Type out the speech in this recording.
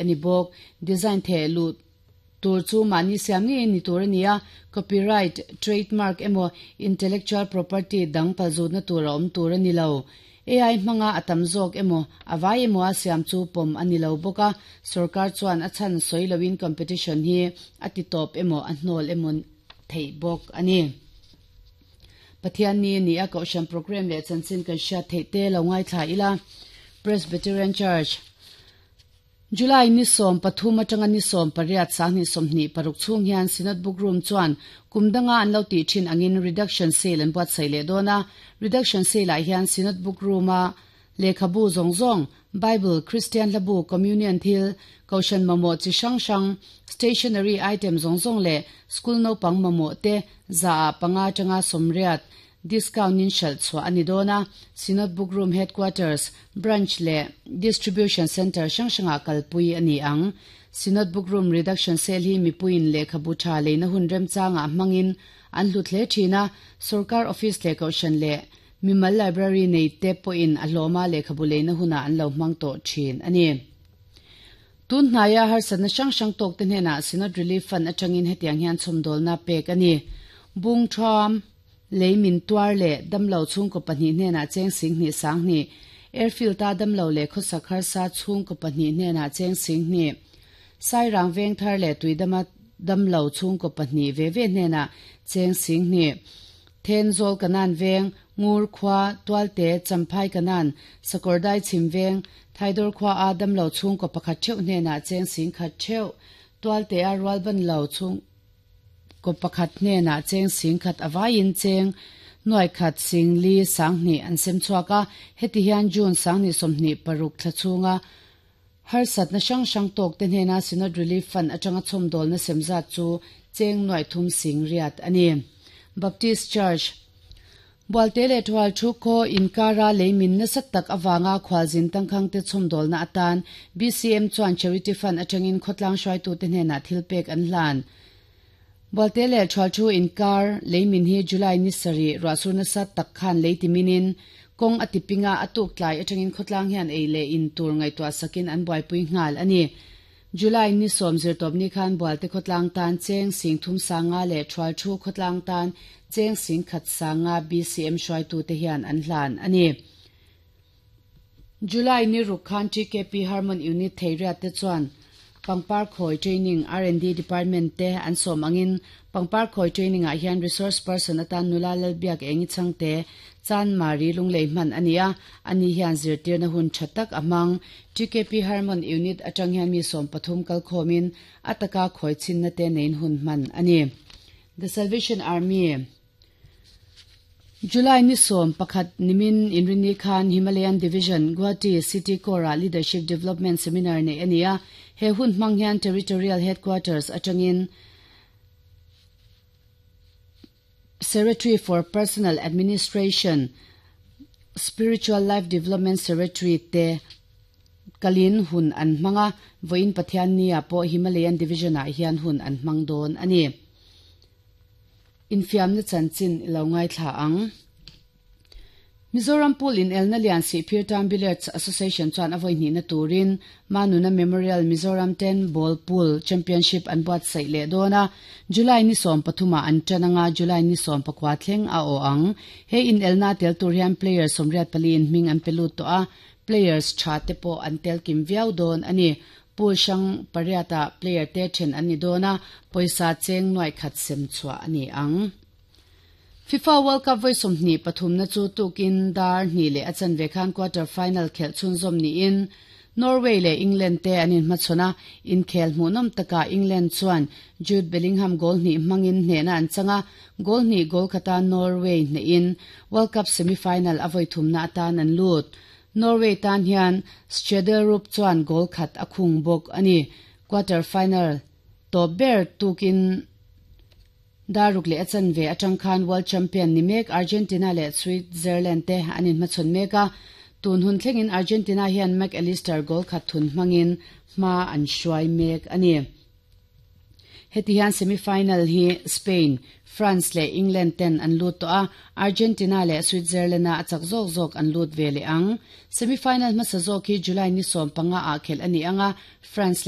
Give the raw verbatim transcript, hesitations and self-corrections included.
Ani bawk. Design theh lut tur chu mahni siam ngei ni tur a ni a, copyright, trademark emaw intellectual property dang palzutna tur a awm tur a ni lo. A I hmanga a tam zawk emaw a vai emaw a siam chu pawm a ni lo bawk a, sorkar chuan a chhan sawi loin competition hi a ti tawp emaw a hnawl emaw theih bawk a ni. Pathian ni ni a kohhran program leh chanchin kan hriat theih te lo ngaithla ila. Presbyterian Church. July ni sawm pathum atanga ni sawm pariat sanghnih sawmhnih paruk chhung hian Synod Book Room chuan kum danga an lo tih thin angin reduction sale an buatsaih leh dawn a. Reduction sale ah hian Synod Book Room a lehkhabu zawng zawng, Bible, Christian hlabu, Communion thil, kohhran mamawh chi hrang hrang, stationery item zawng zawng leh school naupang mamawh te za ah panga atanga sawmriat discount in hralh chhuah a ni dawn a. Synod Book Room Headquarters, Branch leh Distribution Centre hrang hrangah kalpui a ni ang. Synod Book Room Reduction Sale hi mipuiin lehkhabu tha leina hun remchangah hmangin an hlut hle thin a, sorkar office leh kohhran leh mimal library nei te pawhin a hlawma lehkhabu leina hunah an lo hmang tawh thin a ni. Tun hnaia harsatna hrang hrang tawk te hnenah Synod Relief Fund atangin hetiang hian chhawmdawlna pek a ni. Bung Thuam lei min tuar leh damlo chhungkaw pahnih hnenah cheng singhnih sanghnih, airfield a damlo leh khawsak harsa chhungkaw pahnih hnenah cheng singhnih, Sairang veng thar leh tuidama damlo chhungkaw pahnih ve ve hnenah cheng singhnih, Thenzawl kanan veng, Ngur khua, Tualte, Champhai kanan, Sakawrdai chhim veng, Thaidawr khua a damlo chhungkaw pakhat theuh hnenah cheng singkhat theuh, Tualte a rualban lo chhung kaw pakhat hnenah cheng singkhat avaiin cheng nuai khat singli sanghnih an sem chhuak a. Heti hian June sanghnih sawmhnih paruk thla chhunga harsatna hrang hrang tawk te hnena Synod Relief Fund atanga chhawmdawlna semzat chu cheng nuai thum sing riat a ni. Baptist Church. Bualte leh Thual thu khaw inkara leimin nasa tak awanga khwalzin tangkhang te chhawmdawlna atan B C M chuan Charity Fund atangin khawtlang hruaitu te hnenah thil pek an hlan. Bualte leh Thual thu inkar leimin hi July ni sarih ruahsur nasa tak khan leitiminin kawng a tipinga atuk tlai atangin khawtlang hian ei leh in tur ngaihtuah sakin an buaipui nghal a ni. July ni sawm zirtawp ni khan Bualte khawtlang tan cheng sing thum sanga leh Thual thu khawtlang tan cheng sing khat sanga B C M hruaitu te hian an hlan a ni. July ni ruk khan T K P Harmon Unit Theiriat te chuan Pangpar Khoi Training R and D Department te an sawm angin Pangpar Khoi Training ah hian resource person atan nula lalbiak engi changte chan mari lunglei hman ania. Ani hian zirtirna hun thatak amang. T K P Harmon Unit atang hian mi sawm pathum kal khomin ataka khoi chin na te nein hun hman ani. The Salvation Army. July ni sawm pakhat nimin Inrini khan Himalayan Division, Guwahati City Kora Leadership Development Seminar nei ania. He hun hmang hian Territorial Headquarters atangin Secretary for Personal Administration, Spiritual Life Development Secretary te kalin hun an hmanga. Voin Pathian ni a pawh Himalayan Division ah hian hun an hmang dawn ani. Infiam na chanchin ilo ngai thla ang. Mizoram Pool in Elna Lian Sihphir Town Billiards Association chuan avoi hnih na turin Manuna Memorial Mizoram ten Ball Pool Championship an buatsaih leh dawn a. July ni sawm pathuma an tananga July ni sawm pakua thleng a aw ang. He in elna tel tur hian players sawmriat pali in hming an pelut tawh a, players tha te pawh an tel kim viau dawn ani. Pool hrang pariata player te then an ni dawn a, pawisa cheng nuai khat sem chhuah ani ang. FIFA World Cup voi sawmhnih pathum na chu tukin dar hnih leh a chanve khan quarter final khelh chhunzawm niin Norway leh England te an inhmachhawn a. Inkhel hmuhnawm taka England chuan Jude Bellingham goal hnih hmangin hnehna an changa, goal hnih goal khata Norway hnehin World Cup semi-final a voi thumna atan an lut. Norway tan hian Schjelderup chuan goal khat a khung bawk ani. Quarter final tawp ber tukin daruk leh a chanve atang khan world champion ni mek Argentina leh Switzerland te an inhmachhawn mek a. Tun hun thlengin Argentina hian McAllister goal khat thun hmangin hma an hruai mek ani. Heti hian semi-final hi Spain, France leh England ten an lut tawh a, Argentina leh Switzerland a a chak zawk zawk an lut ve leh ang. Semi-final hmasa zawk hi July ni sawm panga ah khelh ani anga, France leh